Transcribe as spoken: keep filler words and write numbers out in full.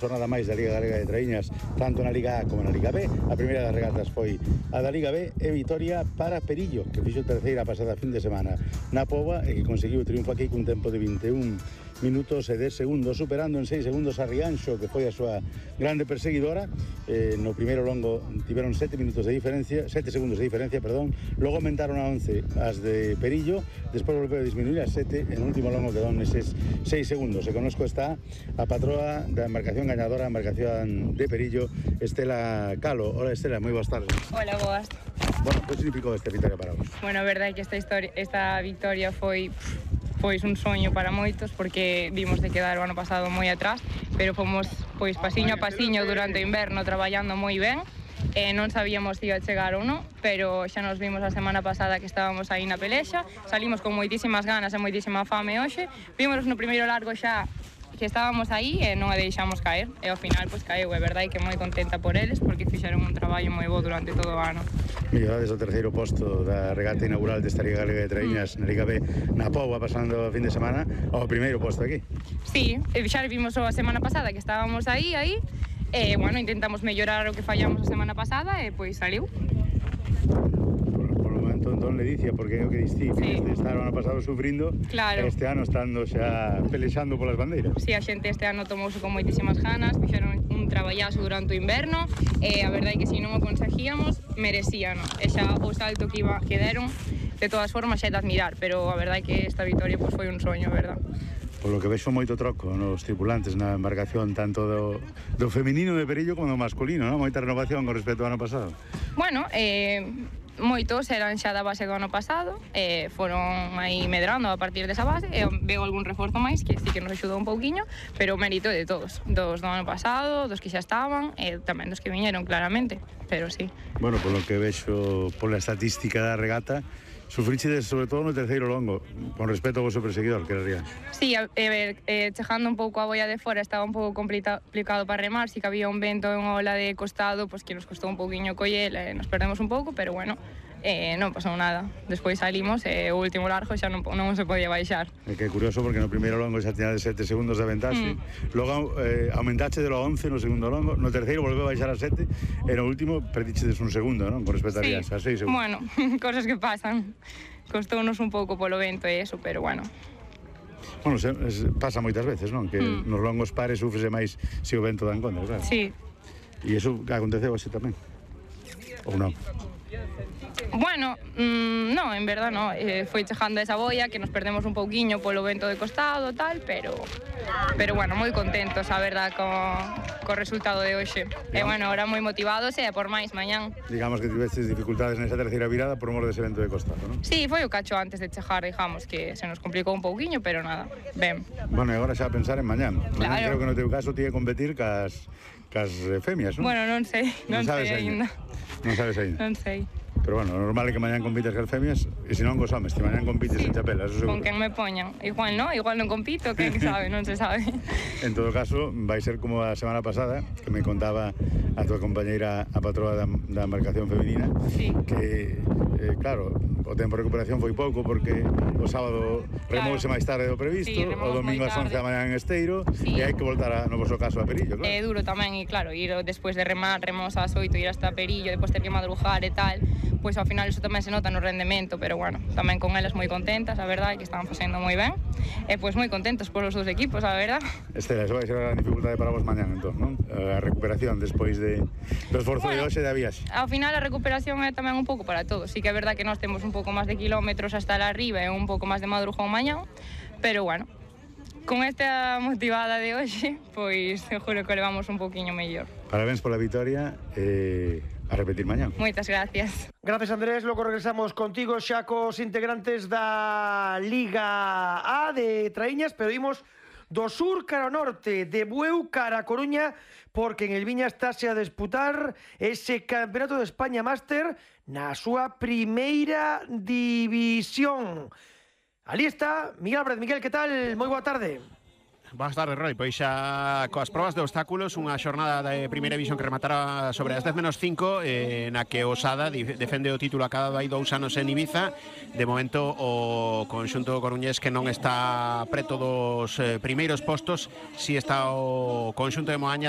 Jornada máis da Liga Galega de Traíñas, tanto na Liga A como na Liga B. A primeira das regatas foi a da Liga B e vitoria para Perillo, que fixo terceira pasada fin de semana na Póvoa e que conseguiu o triunfo aquí cun tempo de vinte e un minutos e dez segundos, superando en seis segundos a Rianxo, que foi a súa grande perseguidora. Eh, no primeiro longo tiveron sete minutos de diferencia, sete segundos de diferencia, perdón. Logo aumentaron a once as de Perillo, despois volveu a disminuir a sete, en o último longo quedou neses seis segundos. E connosco está a patroa da embarcación gañadora, a embarcación de Perillo, Estela Calo. Hola Estela, moi boas tardes. Hola, boas. Bueno, que significou esta victoria para vos? Bueno, a verdade é que esta, historia, esta victoria foi pois un soño para moitos, porque vimos de quedar o ano pasado moi atrás, pero fomos pois pasiño a pasiño durante o inverno traballando moi ben. Eh, non sabíamos se iba a chegar ou non, pero xa nos vimos a semana pasada que estábamos aí na pelexa, salimos con moitísimas ganas e moitísima fame hoxe, vimos no primeiro largo xa que estábamos aí e non a deixamos caer, e ao final pois caeu, é verdade que moi contenta por eles porque fixeron un traballo moi bo durante todo o ano. Mellorades o terceiro posto da regata inaugural desta Liga Galega de Traíñas mm. na Liga B na Póvoa pasando o fin de semana ao primeiro posto aquí. Sí, xa vimos a semana pasada que estábamos aí, aí, e, bueno, intentamos mellorar o que fallamos a semana pasada e, pois, saliu. Por, por o momento, entón, Ledicia, porque é o que distí, sí. Este estar o ano pasado sufrindo, claro. Este ano estando xa pelexando polas bandeiras. Sí, a xente este ano tomouse con moitísimas ganas, fixeron un traballazo durante o inverno, e a verdade é que se non o conseguíamos, merecían, e xa o salto que, iba, que deron, de todas formas, xa é de admirar, pero a verdade é que esta victoria pois, foi un soño, verdad? Por lo que vexo moito troco nos tripulantes na embarcación, tanto do, do feminino de Perillo como do masculino, non? Moita renovación con respecto ao ano pasado. Bueno, eh, moitos eran xa da base do ano pasado, eh, foron aí medrando a partir desa base, e veo algún reforzo máis que sí que nos axudou un pouquiño, pero o mérito de todos, dos do ano pasado, dos que xa estaban, e tamén dos que viñeron, claramente, pero sí. Bueno, por lo que vexo pola estatística da regata, sufrichedes sobre todo no terceiro longo, con respecto ao vosso perseguidor, que era Rianxo. Sí, a ver, eh, chegando un pouco a boia de fora estaba un pouco complicado para remar, si que había un vento e unha ola de costado, pues que nos costou un pouquiño coller, eh, nos perdemos un pouco, pero bueno, eh, non pasou nada. Despois salimos e eh, o último largo xa non, non se podía baixar. É que é curioso porque no primeiro longo xa tiña de sete segundos de aventaxe, mm. logo eh, aumentache de lo once no segundo longo, no terceiro volveu a baixar a sete, e no último perdichedes un segundo, non? Con respecto a sí. Rianxo, a seis segundos. Bueno, cosas que pasan. Costounos un pouco polo vento e eso, pero bueno. Bueno, se, se, pasa moitas veces, non? Que mm. nos longos pares sufrese máis se o vento dá en contra, claro. Sí. E iso aconteceu así tamén? Ou non? Bueno, mmm, non, en verdad non, eh, foi chegando esa boia que nos perdemos un pouquiño polo vento de costado tal, pero pero bueno, moi contentos, a verdad, co, co resultado de hoxe. E bueno, ahora moi motivados e por máis mañán. Digamos que tivestes dificultades nesa terceira virada por mor dese vento de costado, non? Sí, foi o cacho antes de chegar, digamos, que se nos complicou un pouquiño, pero nada, ben. Bueno, e agora xa a pensar en mañán. Claro. Mañán creo que no teu caso tía competir cas, cas femias, non? Bueno, non sei, non, non sei ainda. Non sabes ainda? Non sei. Pero bueno, normal é que mañán compites cas femias, e se non cos homes, se mañán compites sí. en chapela, eso seguro. Con quen me poñan. Igual non, igual non compito, quen sabe, non se sabe. En todo caso, vai ser como a semana pasada, que me contaba a tua compañeira, a patroa da, da embarcación feminina, sí. que, eh, claro, o tempo de recuperación foi pouco, porque o sábado remouse claro. máis tarde do previsto, sí, o domingo ás once da mañá en Esteiro, sí. e hai que voltar a, no vosso caso a Perillo, claro. É duro tamén, e claro, ir despois de remar, remos ás oito, ir hasta Perillo, depois ter que madrugar e tal, pois ao final iso tamén se nota no rendemento, pero bueno, tamén con elas moi contentas, a verdade, que estaban facendo moi ben, e pois moi contentos polos dous equipos, a verdade. Estela, eso vai ser a dificultade para vos mañán, entón, non? A recuperación despois de, do esforzo bueno, de hoxe da viaxe. Ao final a recuperación é tamén un pouco para todos, sí que é verdade que nós temos un pouco máis de kilómetros hasta la arriba e un pouco máis de madrugón mañán, pero bueno, con esta motivada de hoxe, pois seguro que levamos un pouquiño mellor. Parabéns pola vitoria e a repetir mañán. Moitas gracias. Gracias, Andrés. Logo regresamos contigo xa cos integrantes da Liga A de Traíñas, pero imos do sur cara ao norte, de Bueu cara a Coruña, porque en el Viña estáse a disputar ese Campeonato de España Máster na súa primeira división. Ali está Miguel Álvarez. Miguel, que tal? Moi boa tarde. Boas tardes, Roy. Pois xa coas probas de obstáculos, unha xornada de primeira división que rematara sobre as dez menos cinco, eh, na que o Sada defende o título acabado hai dous anos en Ibiza. De momento o conxunto coruñés que non está preto dos eh, primeiros postos, si está o conxunto de Moaña